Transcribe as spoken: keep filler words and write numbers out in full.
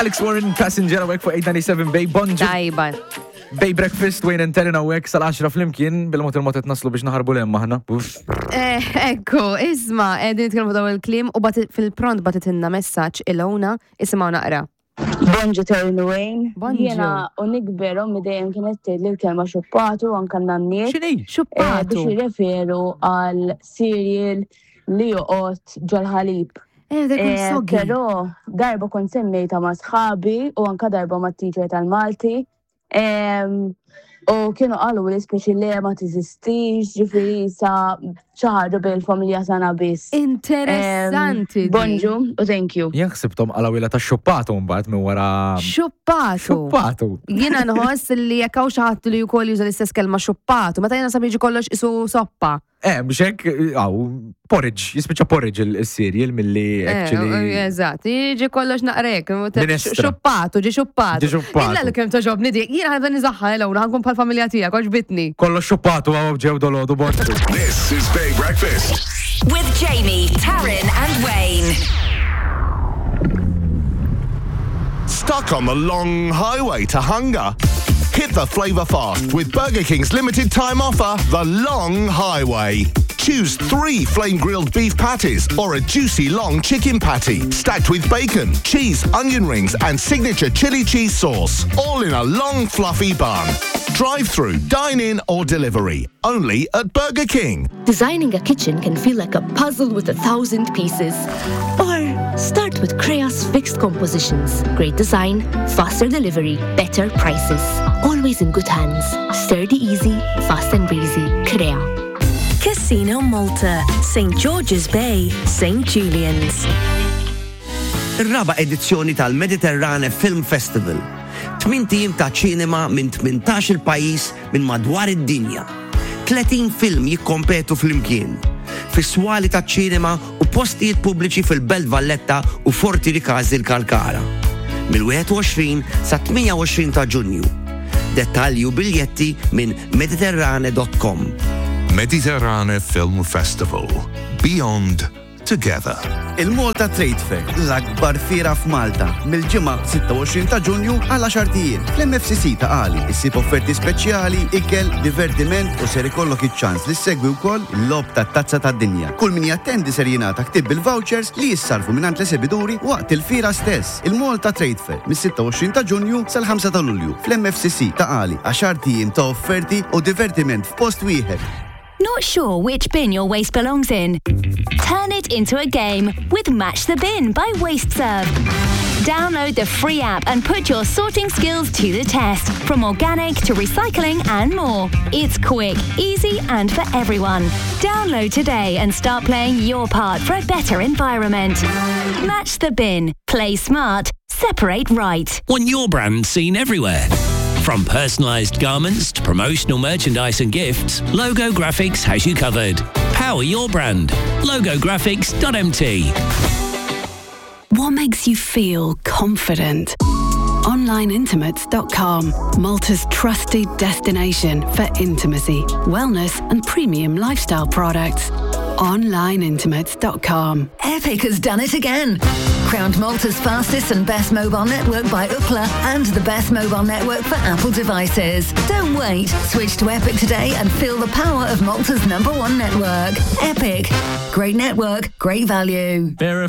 Alex Warren, Passenger hawnhekk fuq eight ninety-seven Bay. Bonġu. Tajba. Bay Breakfast, Wayne and Taryn hawnhekk sal-għaxra flimkien, bil-mod il-mod qed naslu biex naħarbu 'l hemm aħna. Uff. Eh, ekku, isma', qegħdin nitkellmu daw il-kliem u bati- fil-pront bagħtitilna messaġġ Ilona, isimgħu naqra. Bonġu, Taryn, Wayne. Bonġu. Jiena u nikber, ommi dejjem kienet tgħid li l-kelma xuppatu, anka n-nanniet. X'inhi? eh, Xuppatu. Biex jirreferu għal cereal li joqgħod ġol-ħalib. Eh, dak Eh, soggy. Però darba kont semmejta ma' sħabi u anka darba ma' teacher tal-Malti. Em, U kienu qalu li speċi le, ma teżistix, ġifieri sa xi ħaġa bejn il-familja tagħna biss. Interessanti. Em, Bonġu u thank you. Jien ħsibthom qalawila ta' xuppatu mbagħad minn wara. Xuppatu. Xuppatu. Jiena nħoss li jekk hawn xi ħadd li wkoll juża l-istess kelma xuppatu, meta jiena sa jiġi kollox isu soppa. Eh, biex hekk, għaw, porridge, jispiċċa porridge il-cereal milli Eh, actually. Eżatt, jiġi kollox naqrek. Minestra. Xuppatu, ġi xuppatu. Ġi xuppatu. Illa li kemm togħġobni dik, jiena ħa nibda nużaha Ilona, ħa nkun bħal familja tiegħek, għoġbitni. Kollox xuppatu għaw ġew dolodu, bonġu. This is Bay Breakfast. With Jamie, Taryn, and Wayne. Stuck on the long highway to hunger? Hit the flavour fast with Burger King's limited time offer, The Long Highway. Choose three flame grilled beef patties or a juicy long chicken patty, stacked with bacon, cheese, onion rings, and signature chili cheese sauce, all in a long fluffy bun. Drive through, dine in, or delivery. Only at Burger King. Designing a kitchen can feel like a puzzle with a thousand pieces. Or start with Crea's fixed compositions. Great design, faster delivery, better prices. Always in good hands. Sturdy easy, fast and breezy. Crea. Casino Malta, Saint George's Bay, Saint Julian's. Ir-raba edizzjoni tal-Mediterrane Film Festival. Tmint ijiem ta' ċinema minn tmintax il pajjiż minn madwar id-dinja. tletin film jikkompetu flimkien. Fis-swali ta' ċinema u postijiet pubbliċi fil-Belt Valletta u Forti Rikażi l-Kalkara. Mill-wieħed u għoxrin sa tmienja u għoxrin ta' Ġunju. Dettalji u biljetti minn mediterrane dot com. Mediterrane Film Festival. Beyond Together. Il-Malta Trade Fair, l-akbar fiera f'Malta, mill-Ġimgħa sitta u għoxrin ta' Ġunju għal għaxart ijiem. Fl-M F C C Ta' Qali, issib offerti speċjali, ikel, divertiment u ser ikollok iċ-ċans li ssegwi wkoll il-logħob tat-tazza tad-dinja. Kull min jattendi ser jingħata ktib bil-vouchers li jissarfu mingħand l-esebiduri waqt il-fiera stess. Il-Malta Trade Fair, mis-sitta u għoxrin ta' Ġunju sal-ħamsa ta' Lulju fl-M F C C Ta' Qali, għaxart ijiem ta' offerti u divertiment f'post wieħed. Not sure which bin your waste belongs in? Turn it into a game with Match the Bin by WasteServ. Download the free app and put your sorting skills to the test, from organic to recycling and more. It's quick, easy, and for everyone. Download today and start playing your part for a better environment. Match the Bin. Play smart. Separate right. Want your brand seen everywhere? From personalised garments to promotional merchandise and gifts, Logo Graphics has you covered. Power your brand. Logographics dot M T. What makes you feel confident? Online Intimates dot com, Malta's trusted destination for intimacy, wellness, and premium lifestyle products. Online Intimates dot com. Epic has done it again. Crowned Malta's fastest and best mobile network by Ookla and the best mobile network for Apple devices. Don't wait. Switch to Epic today and feel the power of Malta's number one network. Epic. Great network, great value. Vera.